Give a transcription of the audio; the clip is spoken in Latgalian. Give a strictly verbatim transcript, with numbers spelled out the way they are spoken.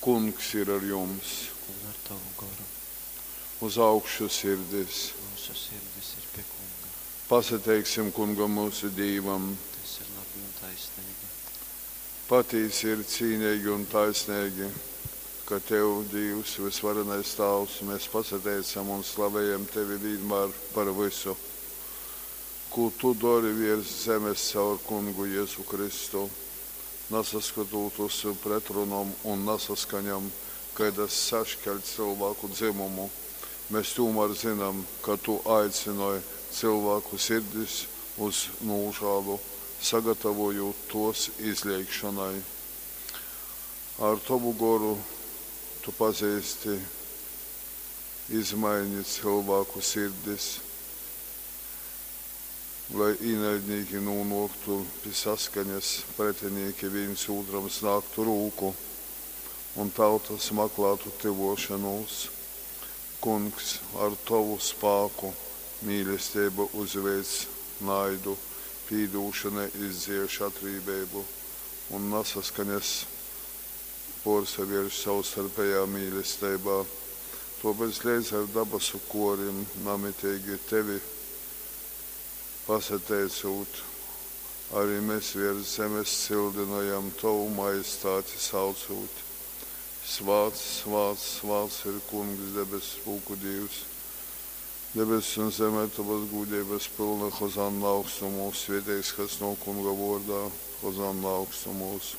Kungs ir ar jums! Un ar tovu goru. Uz augšu sirdis! Myusu sirdis ir pie Kunga. Pasateiksim Kungam myusu Dīvam! Tas ir labi un taisneigi. Patīsi ir cīneigi un taisneigi, ka tev, Dīvs, vysvarenais Tāvs, mēs pasateicam un slavejam tevi vīnmār par vysu, kū tu dori viers zemes caur Kungu Jezu Kristu. Nasaskotūt uz pretrunom un nasaskaņom, kaidas saškeļ cylvāku dzymumu, mes tūmār zynam, ka tu aicynoj cylvāku sirdis uz nūžālu, sagatavojūt tuos izleigšonai. Ar tovu Goru tu pazeisti izmaini cylvāku sirdis, lai īnaidnīki nūnuoktu pi saskaņas, pretinīki vīns ūtram snāgtu rūku un tautas maklātu tyvuošonūs. Kungs, ar tovu spāku mīlesteiba uzveic naidu, pīdūšona izdzieš atrībeibu un nasaskaņas puorsavierš sovstarpejā mīlesteibā. Tuopēc leidz ar dabasu korim namiteigi tevi pasateicūt, arī mes viers zemes cyldynojam tovu majestāti saucūt: Svāts, svāts, svāts ir Kungs, debess pulku Dīvs. Debesis un zeme ir tavas gūdeibas pylna, Hozanna augstumūs, svieteigs, kas nuok Kunga vuordā, Hozanna augstumūs.